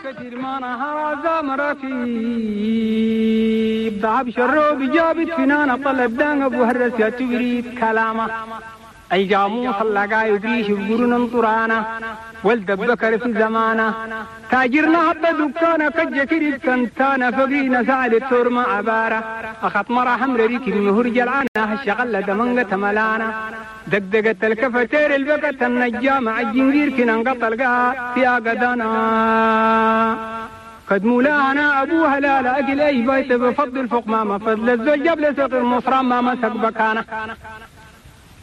كثير ما نهار مرافي ضعب شروب جابت فنانة طلب دان ابو هرس يا تبريد كلامه اي جاموس اللقا يدريش بقرن طرانا ولد بكر في زمانه تاجرنا عبد دكانه كجكري كنتانا فقينا سعد التور ما عبارة اخط مرة حمر ريك المهر جلعانه الشغلة دمنقة ملانا دقدقت الكفتير البكت النجام الجنجير كنا انقطع القاع في قدانا قد مولانا ابوها لا لا اكل اي بيت بفضل فوق ما فضل الزوج جاب لسوق المصرى ما مسك بكانه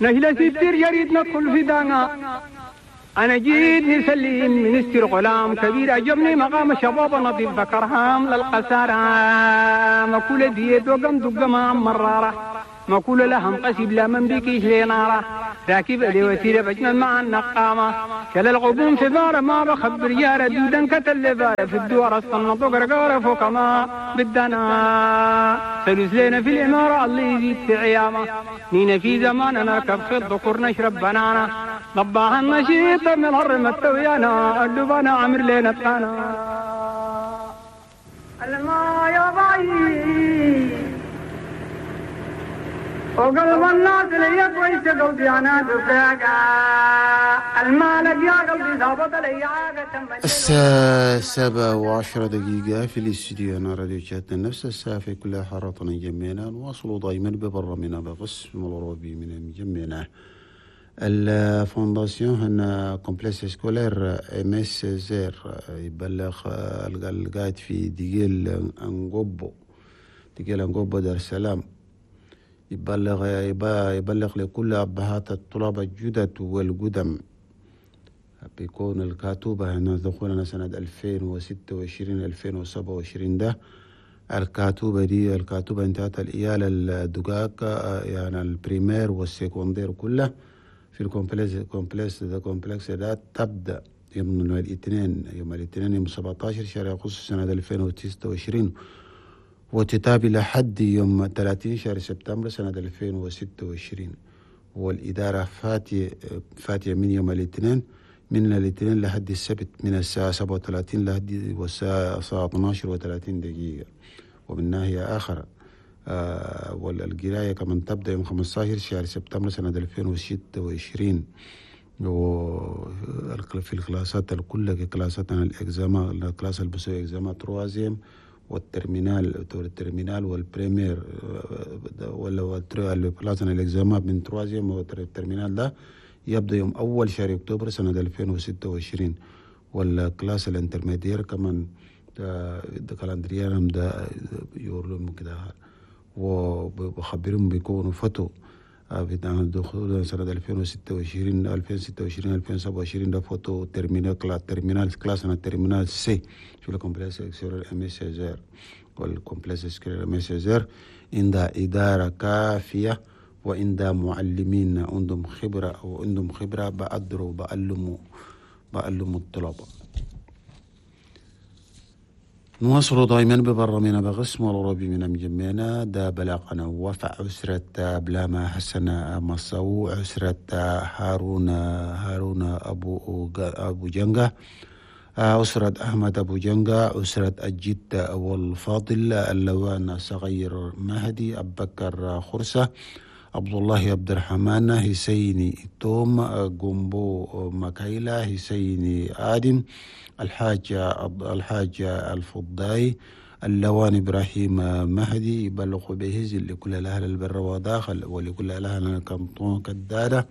نهلا ستير جريد ندخل في دانا انا جيت نسلم منستر غلام كبير عجبني مقام شباب نظيف ذكرهام للقسارة مكولة ديت وقم دق ما مرارة مكولة لهم قسيب لا من بكيش لنارة راكب لي وسيلة بجمل مع النقامة كل الغبون في بارة ما بخبر يا دودا كتل بارة في الدوار الصنط وقرقارة فوق ما بدنا سلوس لنا في الإمارة الله يزيد في عيامة نينا في زمان نركب في الذكور نشرب بنانا ضباها النشيط من الهرم التويانا اللبانا عمر لنا تانا الما يا باي وقلب الناس لي كويس قلبي انا دفاقا المالك يا قلبي ظابط لي عاقة. الساعة 7:10 في الاستديو أنا راديو شاتنا نفس الساعة في كل حارتنا جميعنا. نواصل دائما ببرنامجنا بقسم الأوروبي من جميعنا. ال fondation هنا complexe scolaire Aimé Césaire يبلغ القاعد في ديجيل انغوبو، ديجيل انغوبو دار السلام، يبلغ لكل أبهات الطلاب الجدد والقدم بيكون الكاتوبة هنا دخولنا سنة 2026 2027 ده الكاتوبة دي الكاتوبة انتهت الإيالة الدقاق يعني ال primaire وال secondaire كله في ال complexe complexe ده complexe ده تبدأ يوم الاثنين يوم 17 شهر أغسطس سنة 2026 وتتابع لحد يوم 30 شهر سبتمبر سنة 2026. والإدارة فاتية من يوم الاثنين من الاثنين لحد السبت من الساعة 37 لحد والساعة 12:30. ومن ناحية آخر والقراية كمان تبدأ يوم 15 شهر سبتمبر سنة 2026 وفي الكلاسات الكل كلاساتنا ال examen ال classe اللي بسوي examen troisième وال terminale وال primaire ولا classe ال examen من troisième وال terminale ده يبدأ يوم أول شهر أكتوبر سنة 2026. وال classe ال intermédiaire كمان ده calendrier ده يورلهم كده وبخبرهم بيكونوا فتو بتاع دخول سنة 2026 2026 2027 ده فوتو terminale classe terminale classe أنا terminale C في ال complexe scolaire Aimé Césaire. وال complexe scolaire Aimé Césaire عندها إدارة كافية وعندها معلمين عندهم خبرة أو عندهم خبرة بقدروا بعلموا الطلبة. نواصل دائما ببرنامجنا بقسم العربي من مجمعنا ده بلاغنا وفع أسرة بلاما حسن مصو أسرة هارون أبو جنجة أسرة أحمد أبو جنجة أسرة الجد والفاضل اللوان صغير مهدي أبكر خرسة عبد الله عبد الرحمن حسيني توم جومبو مكايلا حسيني آدم الحاج الفضاي اللوان إبراهيم مهدي يبلغ به لكل الأهل البر وداخل ولكل الأهل كنطون كدادة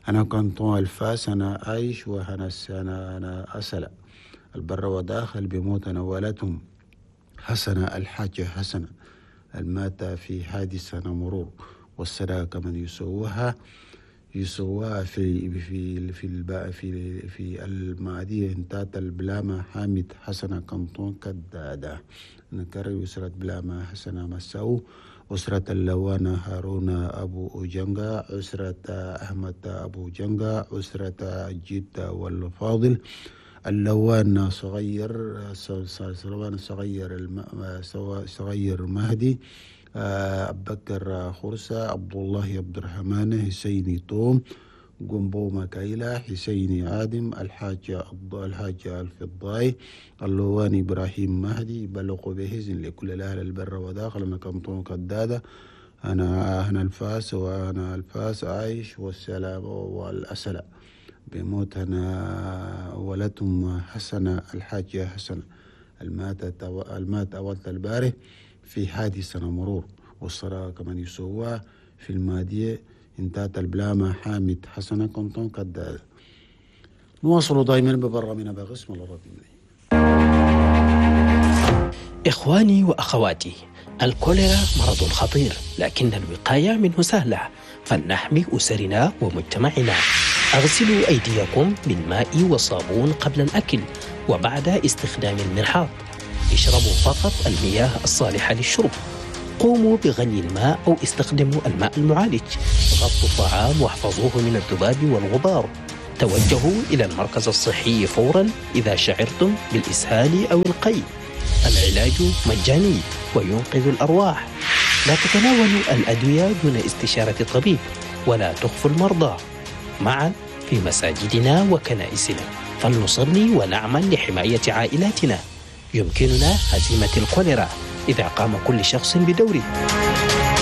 أنا كنطون الفاس أنا عايش وأنا أنا أسلة البر وداخل بموت نوالتهم حسنة الحاج حسنة المات في حادثة مرور والصداقة كمن يسوها في في في في في المعدية انتات البلامة حامد حسنة كنطون كدادة. نكرر أسرة بلامة حسنة مساو أسرة اللوانة هارون أبو جنجا أسرة أحمد أبو جنجا أسرة جد والفاضل اللوان صغير صغير مهدي أبكر خرسة عبد الله عبد الرحمن حسيني توم جنبو مكايلة حسيني آدم الحاج الفضاي اللواني إبراهيم مهدي بلغوا بهزن لكل الأهل البر وداخل. أنا كنتون كدادة أنا الفاس وأنا الفاس عايش والسلام والأسلة بموت أنا ولدهم حسنة الحاجة حسنة المات أولت الباري في حادثة مرور والصلاة كمان يسوى في المادية انتهت البلامة حامد حسنة كنتون كدادة. نواصل دائما ببرامنا بغسم الله ربي. إخواني وأخواتي، الكوليرا مرض خطير، لكن الوقاية منه سهلة، فلنحمي أسرنا ومجتمعنا. أغسلوا أيديكم بالماء والصابون قبل الأكل وبعد استخدام المرحاض. اشربوا فقط المياه الصالحة للشرب. قوموا بغلي الماء أو استخدموا الماء المعالج. غطوا الطعام واحفظوه من الذباب والغبار. توجهوا إلى المركز الصحي فورا إذا شعرتم بالإسهال أو القيء. العلاج مجاني وينقذ الأرواح. لا تتناولوا الأدوية دون استشارة الطبيب، ولا تخفوا المرضى. معا في مساجدنا وكنائسنا فلنصلي ونعمل لحماية عائلاتنا. يمكننا هزيمة الكوليرا إذا قام كل شخص بدوره.